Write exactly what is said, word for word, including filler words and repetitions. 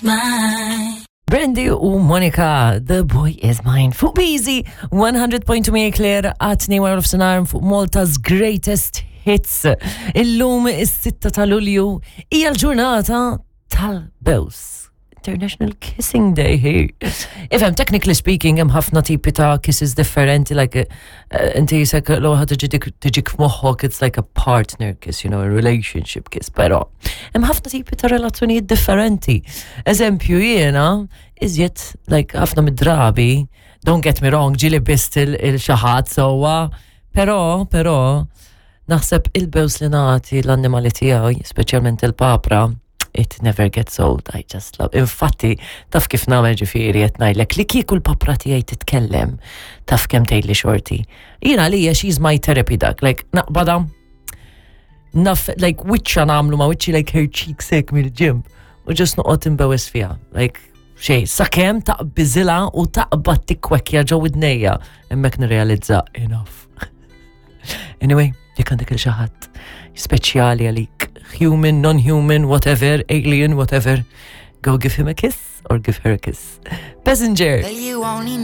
Mine. Brandy u Monica, The Boy Is Mine. Fuq Busy, one hundred point two Claire, għat-tnejn wara nofsinhar fuq Malta's Greatest Hits. Illum is-sitta ta' Lulju hija l-ġurnata tal-bews. International Kissing Day here. Ifhem, technically speaking, hemm ħafna tipi ta' kisses differenti, like, uh, inti jisek l ħa tiġik f'moħħok, it's like a partner kiss, you know, a relationship kiss, pero hemm ħafna tipi ta' relazzjonijiet differenti. Eżempju, jiena, iżjed, like, ħafna mid-drabi, don't get me wrong, ġieli bist lil xi ħadd sewwa, pero, pero, naħseb il-bews li nagħti l-annimali tiegħi, speċjalment il-papra, it never gets old, I just love. Infatti, taf kif nagħmel, ġifieri, qed ngħidlek li kieku l-papra tiegħi titkellem, taf kemm tgħidli xorti. Jiena għalija she's my therapy dog, like naqbada, naf, like wiċċa nagħmlu ma wiċċi, like her cheeks hekk mill-ġenb, u just noqgħod imbewes fiha, like xej, sakemm taqbiżilha u taqbad tikkwekja ġo widnejja, hemmhekk nirrealizza enough. Anyway, jekk għandek lil xi ħadd speċjali għalik, human, non-human, whatever, alien, whatever, go give him a kiss or give her a kiss. Passenger. Well, you only